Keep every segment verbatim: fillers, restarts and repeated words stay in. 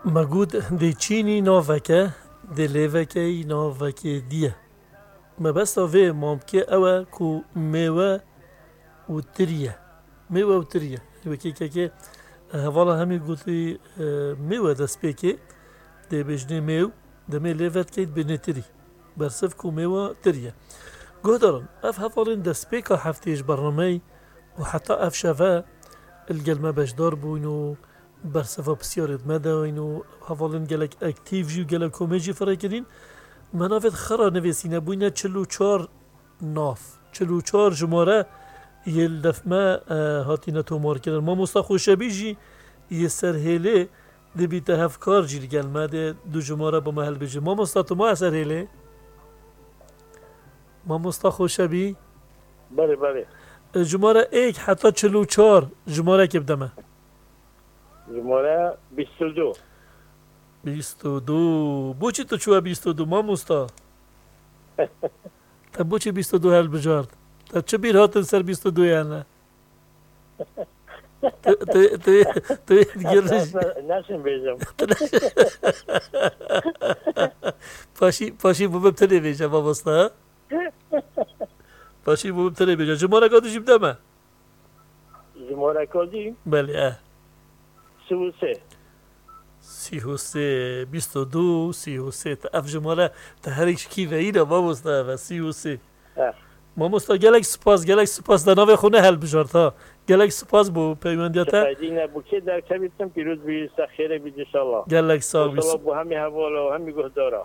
Me got, dê çînî naveke, dê lêvekeyî navekê dî ye. Mebesta vê mamkê ew e ku mêwe û tirî ye. Mêwe û tirî ye. Wekî kekê, e, hevala hemî gotî, e, mêwe destpêkê, dê bêjinê mêw, demê lêve dikeyt bêjinê tirî. Bersiv ku mêwe tirî ye. Guhdaran, ev hevalên destpêka heftê ji bernameyê û heta ev şeve li gel me beşdar bûn û bersiva pisyarêt me dayîn û hevalên gelek aktîf jî û gelek komê jî firê kirîn. Me navê xwe re nivîsîne, bûyne çil û çar nav. Çil û çar jimare yê li def me, e, hatine tomarkirin. Mamosta Xoşebî jî yê Serhêlê dibîte hevkar jî li gel me dê du jimare bo me hilbijê. Mamosta, tu maye Serhêlê? Mamosta Xoşebî? Belê, belê. E, jimare êk heta çil û çar jimarekê bide me. Jimare bîst û du. Bîst û du. Boçî tu çûye bîst û du, mamosta? Te boçî bîst û du helbijart? Te çi bîr hatin ser bîst û du yan e? Tu, tu, tu, tu, Ez, ez ne-, neşim bêjim. Paşî, paşî bû bi tenê bêje, mamosta, ha? Paşî bû bi tenê bêje. Jimareka dî jî bide me. Jimareka dî? Belê, e. Sî û sê. Sî û sê, bîst û du, sî û sê. Te ev jimare, te herî ji kî veyî de, mamosta, ev e, sî û sê. Eh. Mamosta, gelek spas, gelek spas, te navê xwe ne helbijart, ha. Gelek spas bo peywendiya te. Şikayetî ne, bo kê derkevîtin, pîroz bî, ser xêrê bî, inşallah. Gelek sax bî. Maşallah, bo hemî heval û hemî guhdara.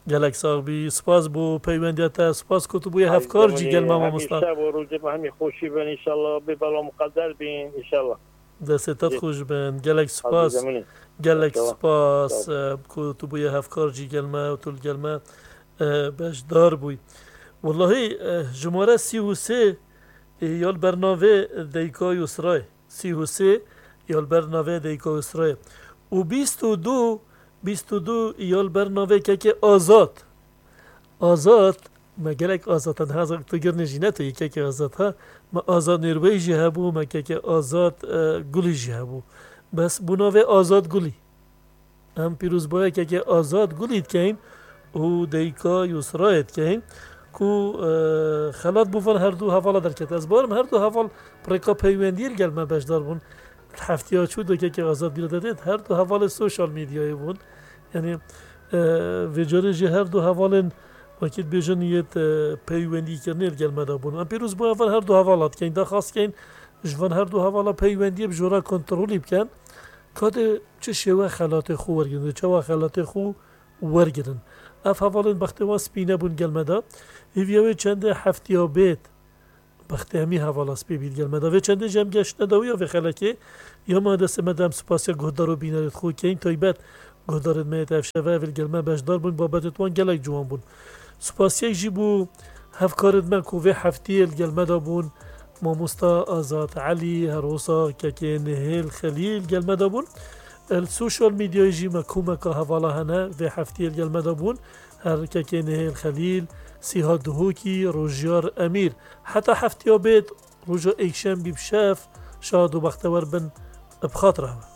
Gelek sax bî. Spas bo peywendiya te. Spas ku tu bûye hevkar jî gel me, mamosta. Hemî şev û rojê me hemî xweşî bin, inşallah. Bê bela muqeder bin, inşallah. Destê te xweş bin. Gelek spas. Gelek spas, e, ku tu bûye hevkar jî gel me û tu li gel me, e, beşdar bûyî. Wellahî, e, jimare sî û sê, e, ya li ber navê Deyka Yusrayê. Sî û sê ya li ber navê Deyka Yusrayê. Û bîst û du, bîst û du ya li ber navê kekê Azad. Azad, me gelek Azad hene, hezek tu girnê jî ne tu yê kekê Azad ha. Me Azad Nêrweyî jî hebû, me kekê Azad, e, Gulî jî hebû. Bes bû navê Azad Gulî. Em pîrozbaya kekê Azad Gulî dikeyin û Deyka Yusrayê dikeyin ku, e, xelat bo van her du hevala derket. Ez barim her du heval bi rêka peywendiyê li gel me beşdar bûn. Heftiya çû de kekê Azad bîra de dêt, her du hevalê sosyal medyayê bûn. Yanî, e, vê carê jî her du hevalên wekî dibêjin yêt, e, peywendîkirinê li gel me de bûn. Em pîrozbaya van her du hevala dikeyin, daxwaz dikeyin ji van her du hevala peywendiyê bi jora kontrolî bikin. Ka dê çi şêwe xelatê xwe wergirin, dê çawa xelatê xwe wergirin. Ev hevalên bextê wan spî nebûn gel me de. Hêviya wê çendê heftiya bêt, bextê hemî hevala spî bît gel me de. Vê çendê jî em geştine dawiya vê xelekê. Ya ma destê me de em spasiya guhdar û bînerêt xwe keyin, taybet guhdarêt me yêt ev şeve ev li gel me beşdar bûn, babetêt wan gelek ciwan bûn. Spasiyek jî bû hevkarên me ku vê heftiyê li gel me de bûn, mamosta Azad Elî, her wisa kekê Nihêl Xelîl gel me de bûn. Li sosyal medyayê jî me komeka hevala hene vê heftiyê li gel me de bûn. Her kekê Nihêl Xelîl, Sîha Duhokî, Rojiyar Emîr. Heta heftiya bêt, roja êkşembî bi şev, şad û bextewer bin, bi xatira we.